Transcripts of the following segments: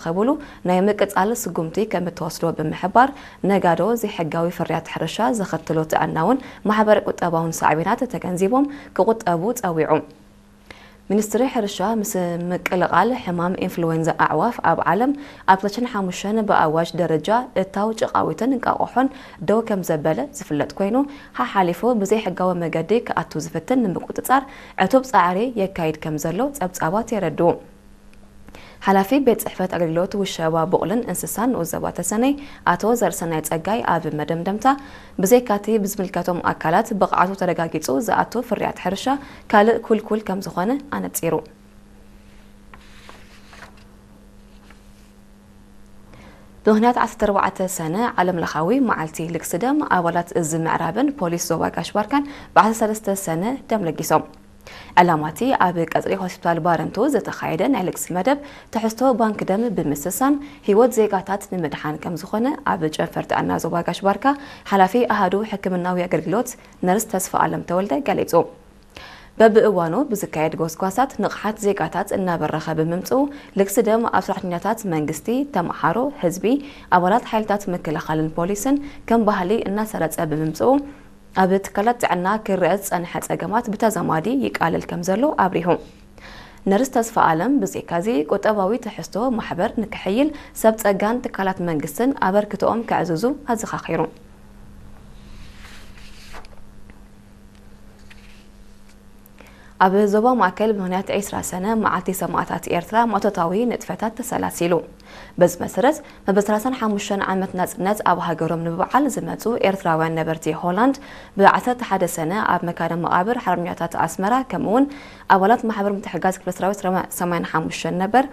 ከብሉ ናይ ምቅጻል ስጉምቲ ከም እተወስዶ ብምሕባር፣ ነጋዶ ዘይሕጋዊ ፍርያት ሕርሻ ዘኸትሎ ጥዕናውን ማሕበረ ቁጠባውን ሳዕቤናት ተገንዚቦም ክቁጠቡ ጸዊዑ። ሚኒስትሪ ሕርሻ ምስ ምቅልቓል ሕማም ኢንፍሉዌንዛ ኣዕዋፍ ኣብ ዓለም ኣብ ክልተ ሽሕን ሓሙሽተን ብኣዋጅ ደረጃ እታው ጭቓዊትን እንቃቑሖን ደው ከም ዘበለ ዝፍለጥ ኮይኑ፣ ሓሓሊፉ ብዘይሕጋዊ መገዲ ክኣቱ ዝፍትን ንምቁጽጻር ዕቱብ ጻዕሪ የካይድ ከም ዘሎ ጸብጻባት የረድኡ። ሓላፊ ቤት ጽሕፈት ኣገልግሎት ውሸባ ቡቕልን እንስሳን ንኡስ ዞባ ተሰነይ ኣቶ ዘርሰናይ ጸጋይ ኣብ መደምደምታ፣ ብዘይካቲ ብዝምልከቶም ኣካላት ብቕዓቱ ተረጋጊጹ ዝኣቱ ፍርያት ሕርሻ ካልእ ኩልኩል ከም ዝኾነ ኣነጺሩ። ብምኽንያት ዓሰርተ ኣርባዕተ ሰነ ዓለም ለኻዊ መዓልቲ ልግሲ ደም ኣባላት እዚ ምዕራብን ፖሊስ ዞባ ጋሽ ባርካን ብ ዓሰርተ ሰለስተ ሰነ ደም ለጊሶም። ዕላማቲ ኣብ ቀጽሪ ሆስፒታል ባረንቱ ዝተኻየደ ናይ ልግሲ መደብ ትሕዝቶ ባንክ ደም ብምስሳን ህይወት ዜጋታት ንምድሓን ከም ዝኾነ ኣብ ጨንፈር ጥዕና ዞባ ጋሽ ባርካ ሓላፊ ኣሃዱ ሕክምናዊ ኣገልግሎት ነርስ ተስፋ ኣለም ተወልደ ገሊጹ። በብእዋኑ ብዝካየድ ጎስጓሳት ንቕሓት ዜጋታት እናበረኸ ብምምጽኡ፣ ልግሲ ደም ኣብ ሰራሕተኛታት መንግስቲ፣ ተምሃሮ፣ ህዝቢ፣ ኣባላት ሓይልታት ምክልኻልን ፖሊስን ከም ባህሊ እናሰረጸ ብምምጽኡ፣ ኣብ ትካላት ጥዕና ክረአ ዝጸንሐ ጸገማት ብተዛማዲ ይቃለል ከም ዘሎ ኣብሪሁ። ነርስ ተስፋ ኣለም ብዘይካዚ ቁጠባዊ ትሕዝቶ ማሕበር ንክሕይል ሰብ ጸጋን ትካላት መንግስትን ኣበርክቶኦም ከዕዝዙ ኣዘኻኺሩ። ኣብ ዞባ ማእከል ብምኽንያት ዕስራ ሰነ መዓልቲ ሰማእታት ኤርትራ ማእቶታዊ ንጥፈታት ተሰላሲሉ። በዚ መሰረት፣ መበል ሰላሳን ሓሙሽተን ዓመት ናጽነት ኣብ ሃገሮም ንምብዓል ዝመጹ ኤርትራውያን ነበርቲ ሆላንድ፣ ብ ዓሰርተ ሓደ ሰነ ኣብ መካነ መቓብር ሓርበኛታት ኣስመራ፣ ከምኡውን ኣባላት ማሕበር ምትሕግጋዝ ክፍለ ሰራዊት ሰማንያን ሓሙሽተን ነበር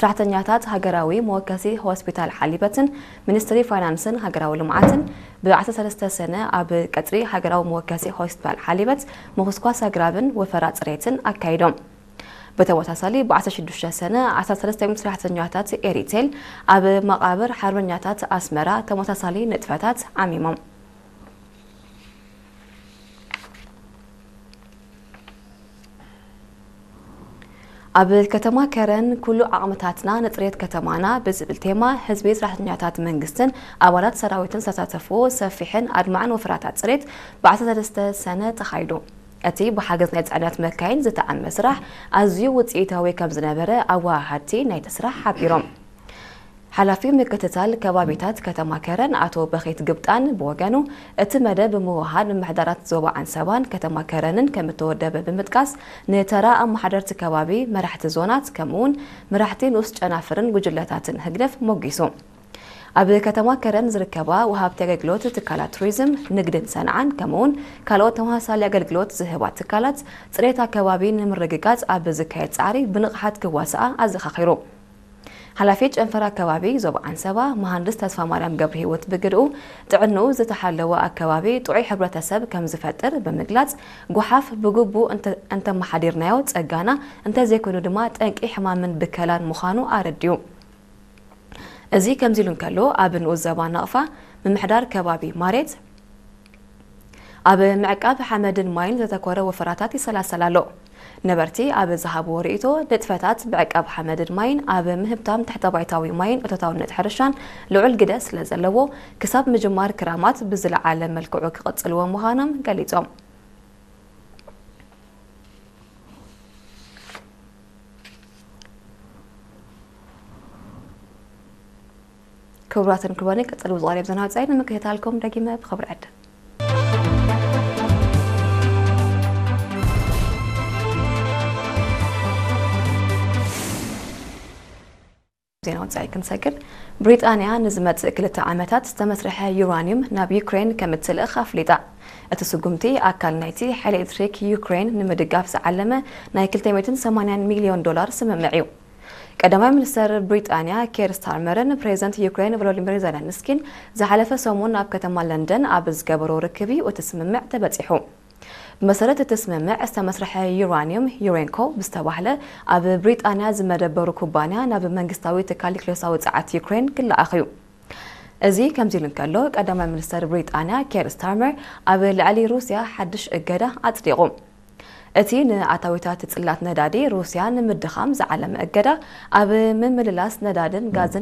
ሰራሕተኛታት ሃገራዊ መወከሲ ሆስፒታል ሓሊበትን ሚኒስትሪ ፋይናንስን ሃገራዊ ልምዓትን ብ ዓሰርተ ሰለስተ ሰነ ኣብ ቀጽሪ ሃገራዊ መወከሲ ሆስፒታል ሓሊበት ምኹስኳስ ኣግራብን ወፈራ ጽሬትን ኣካይዶም። ብተመሳሳሊ ብ ዓሰርተ ሽዱሽተ ሰነ ዓሰርተ ሰለስተ ሚእቲ ሰራሕተኛታት ኤሪቴል ኣብ መቓብር ሓርበኛታት ኣስመራ ተመሳሳሊ ንጥፈታት ዓሚሞም። ኣብ ከተማ ከረን ኩሉ ዓቕምታትና ንጽሬት ከተማና ብዝብል ቴማ ህዝቢ፣ ሰራሕተኛታት መንግስትን ኣባላት ሰራዊትን ዝተሳተፍዎ ሰፊሕን ኣድማዕን ወፈራታት ጽሬት ብ ዓሰርተ ሰለስተ ሰነ ተኻይዱ። እቲ ብሓገዝ ናይ ጽዕነት መካይን ዝተዓመ ስራሕ ኣዝዩ ውጽኢታዊ ከም ዝነበረ ኣወሃሃድቲ ናይቲ ስራሕ ሓቢሮም። ሓላፊ ምክትታል ከባቢታት ከተማ ከረን ኣቶ በኺት ግብጣን ብወገኑ፣ እቲ መደብ ብምውህሃድ ምምሕዳራት ዞባ ዓንሰባን ከተማ ከረንን ከም እተወደበ ብምጥቃስ፣ ንተራ ኣመሓደርቲ ከባቢ፣ መራሕቲ ዞናት፣ ከምኡውን መራሕቲ ንኡስ ጨናፍርን ጉጅለታትን ህግደፍ ሞጊሱ። ኣብ ከተማ ከረን ዝርከባ ወሃብቲ ኣገልግሎት ትካላት ቱሪዝም፣ ንግድን ሰንዓን፣ ከምኡውን ካልኦት ተመሳሳሊ ኣገልግሎት ዝህባ ትካላት፣ ጽሬት ኣከባቢ ንምርግጋጽ ኣብ ዝካየድ ጻዕሪ ብንቕሓት ክዋስኣ ኣዘኻኺሩ። ሓላፊ ጨንፈር ኣከባቢ ዞባ ዓንሰባ መሃንድስ ተስፋ ማርያም ገብረ ህይወት ብግድኡ፣ ጥዕንኡ ዝተሓለወ ኣከባቢ ጥዑይ ሕብረተሰብ ከም ዝፈጥር ብምግላጽ፣ ጓሓፍ ብግቡእ እንተ-፣ እንተመሓዲርናዮ ጸጋና፣ እንተዘይኮይኑ ድማ ጠንቂ ሕማምን ብከላን ምዃኑ ኣረዲኡ። እዚ ከምዚ ኢሉ እንከሎ፣ ኣብ ንኡስ ዞባ ናቕፋ ምምሕዳር ከባቢ ማሬት ኣብ ምዕቃብ ሓመድን ማይን ዘተኮረ ወፈራታት ይሰላሰል ኣሎ። ነበርቲ ኣብ ዝሃብዎ ርእይቶ፣ ንጥፈታት ምዕቃብ ሓመድን ማይን ኣብ ምህብታም ትሕተ-ባይታዊ ማይን እቶታውነት ሕርሻን ልዑል ግደ ስለ ዘለዎ፣ ክሳብ ምጅማር ክራማት ብዝለዓለ መልክዑ ክቕጽልዎ ምዃኖም ገሊጾም። ክቡራትን ክቡራንን፣ ቀጸሊ ብዝቐርብ ዜና ወጻኢ ንምክትታልኩም ደጊመ ብኽብሪ ዕድም። ዜና ወጻኢ ክንሰግር፣ ብሪጣንያ ንዝመጽእ ክልተ ዓመታት ዝተመስርሐ ዩራኒየም ናብ ዩክሬን ከም እትልእኽ ኣፍሊጣ። እቲ ስጉምቲ ኣካል ናይቲ ሓይሊ ኤሌክትሪክ ዩክሬን ንምድጋፍ ዝዓለመ ናይ ክልተ ሚእትን ሰማንያን ሚልዮን ዶላር ስምምዕ እዩ። ቀዳማይ ሚኒስተር ብሪጣንያ ኬር ስታርመርን ፕሬዚደንት ዩክሬን ቮሎዲሚር ዘለንስኪን ዝሓለፈ ሰሙን ኣብ ከተማ ለንደን ኣብ ዝገበሮ ርክብ እዩ እቲ ስምምዕ ተበጺሑ። ብመሰረት እቲ ስምምዕ ዝተመስርሐ ዩራኒየም ዩሬንኮ ብዝተባህለ ኣብ ብሪጣንያ ዝመደበሩ ኩባንያ ናብ መንግስታዊ ትካል ኒክሌሳዊ ጸዓት ዩክሬን ክለኣኽ እዩ። እዚ ከምዚ ኢሉ እንከሎ፣ ቀዳማይ ሚኒስተር ብሪጣንያ ኬር ስታርመር ኣብ ልዕሊ ሩስያ ሓድሽ እገዳ ኣጽዲቑ። እቲ ንኣታዊታት ጽላት ነዳዲ ሩስያ ንምድኻም ዝዓለመ እገዳ፣ ኣብ ምምልላስ ነዳድን ጋዝን